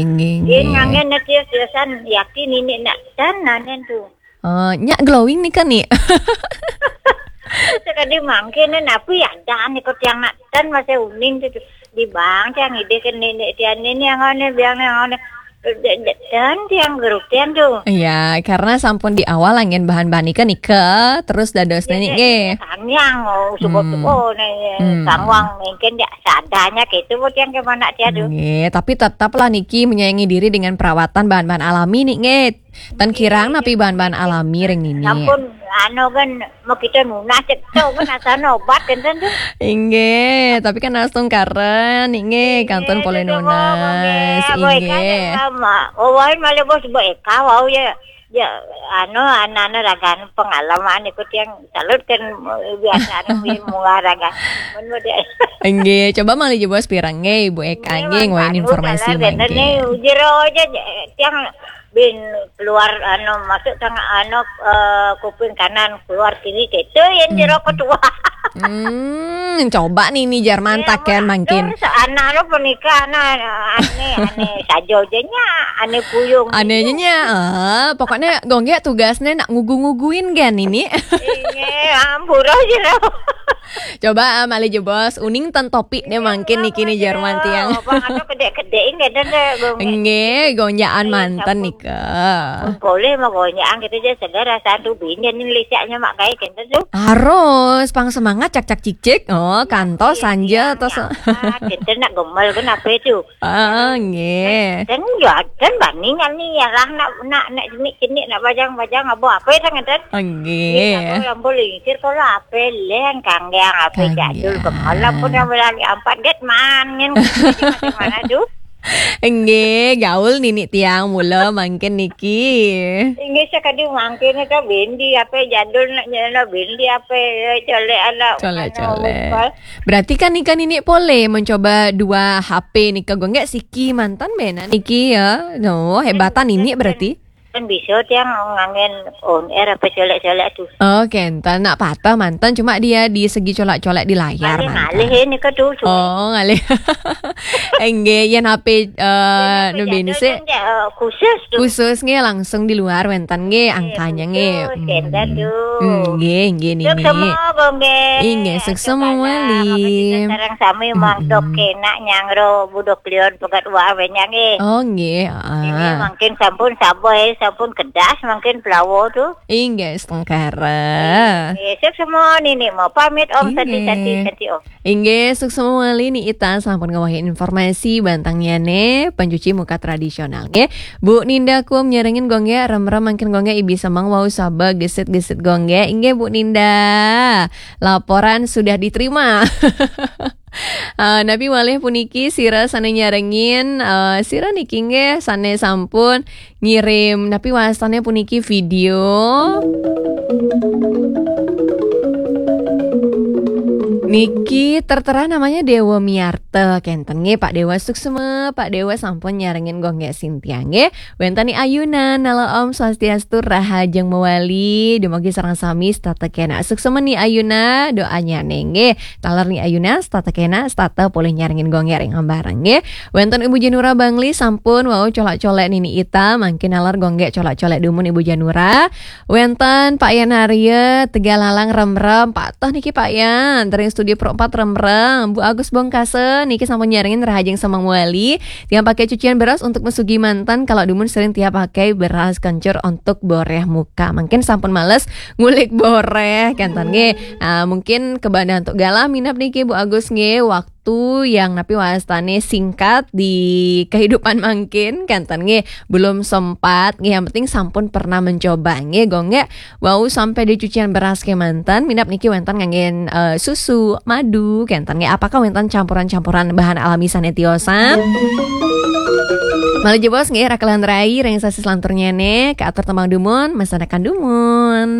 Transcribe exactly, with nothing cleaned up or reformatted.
Inggih, inggih. Ngangge na tios-tiosan yakin ini nak tan nanen tu. Oh, nyak glowing nika ni. Sekadi mangkin napi ada ni ko tiang nak tan masih uning tu. Di bang tiang ide ke nenek tiang ni ni angane biang ni angane. Dan tiang gerup tiang tu. Iya, karena sampun di awal angin bahan-bahan nika nika, terus dados nenek nggih. Sangyang, oh, subuh-subuh ni, hmm, sangwang mungkin dia sadanya gitu, bu tiang ke mana tiang tu. Nggih, tapi tetaplah niki menyayangi diri dengan perawatan bahan-bahan alami nih nggih. Tan kirang napi bahan-bahan alami ring nini. Sampun anu kan mau kita nunas cek tu kan asal obat kan tu. Inggih, tapi kan astungkara nih nggih kantun polih nunas. Inggih. Oh, wai malah bos buat eka wau ya. Ya, anu, anak-anak ragan pengalaman ikut yang salut kan biasa anu munggah ragan. Mun dia. Inggih, coba malih jebos pirang nggih Ibu Eka nggih ngwain informasi mangkin. Jero aja tiang bin keluar anu masuk tengah anu eh, kuping kanan keluar kiri gitu yang jero ketua. Hmm, coba nih ini jar mantak kan mangkin. Anak lo penikah anak ane ane sajo aja nya ane puyung. Ane aja nya. Eh, pokoknya gonggek tugasnya nak ngugu-nguguin kan ini. Iya, ampura jero. Coba ah, malih jebos uning tan topi nih mangkin niki nih Jerman tiang. Apa ada kedek-kedek ini ada gonggek. Nggih, gonjakan manten nika. Boleh mau gonjakan kita aja segar rasa tu bini ni lecaknya mak kai kita tu. Harus pang semangat cak-cak cik-cik. Oh, kantos sanja tos. Kita nak gemel kenapa itu? Ah, nggih. Dan ya dan bandingan ni ya lah nak nak nak jenik-jenik nak bajang-bajang apa apa itu kan. Nggih. Yang boleh sir kalau apa leng kanggang apa jadul gemel pun yang berani empat get mangin. Mana tu? Nggih, gaul nini tiang mula mangkin niki. Inggih sakadi mangkin ka bendi apa jadul nak nyana bendi apa colek anak. Colek-colek. Berarti kan nika nini boleh mencoba dua H P nika gonggek siki mantan bena niki ya. No, hebatan nini berarti. Kan bisa tiang ngangen on air apa colek-colek tu. Oh, kenten nak patah mantan cuma dia di segi colek-colek di layar mantan. Ngalih ini ke tu. Oh, ngalih. Enggih, yen H P eh nu bini sih khusus tu. Khusus nggih langsung di luar wenten nggih angkanya nggih. Kenten tu. Nggih, nggih nini. Sukses semua nggih. Inggih, sukses semua wali. Sareng sami mangdok kenak nyangro budok lion pegat wa wenya nggih. Oh, nggih. Ini mungkin sampun saboh, sampun kedas mungkin pelawo tu. Inggih, setengkara. Inggih, sukses semua nini mau pamit om santi santi santi om. Inggih, sukses semua wali ni ita sampun ngawahin informasi bantangnya ne pencuci muka tradisional nggih. Bu Ninda kum nyerengin gongge rem-rem mangkin gongge ibi semang wau saba gesit-gesit gongge. Inggih Bu Ninda. Laporan sudah diterima. Uh, napi malih puniki sira sane nyarengin uh, sira niki nggih sane sampun ngirim napi wastane puniki video niki tertera namanya Dewa Miarta kenten nggih Pak Dewa suksma Pak Dewa sampun nyarengin gongge Sintia nggih. Wenten ni Ayuna, nala Om Swastiastu, rahajeng mawali, dumugi sareng sami setata kena. Suksma ni Ayuna, doanya nengge. Taler ni Ayuna, setata kena, setata polih nyarengin gongge ring ambareng nggih. Wenten Ibu Janura Bangli sampun wau colak-colek nini ita, mangkin naler gongge colak-colek dumun Ibu Janura. Wenten Pak Yan Arya, Tegal Lalang rem-rem, patah niki Pak Yan, dari studio Pro empat rem-rem, Bu Agus Bongkase, niki sampun nyarengin rahajeng semang mawali. Tiang pakai cucian beras untuk mesugi mantan kalau dumun sering tiap pakai beras kencur untuk boreh muka. Mungkin sampun males ngulik boreh kan tan nggih. Ah, mungkin kebanyakan untuk galah minap niki Bu Agus nggih waktu yang napi wastane singkat di kehidupan mangkin kan tan nggih belum sempat nggih yang penting sampun pernah mencoba nggih gong nggih Wau sampai di cucian beras kemanten, minap niki wenten nganggen eh, susu, madu, kenten nggih. Apakah wenten campuran-campuran bahan alami sane tiosan? Malih jebos nggih rakelan rai ring sasi selanturnya ne, ke atur tembang dumun, masanakan dumun.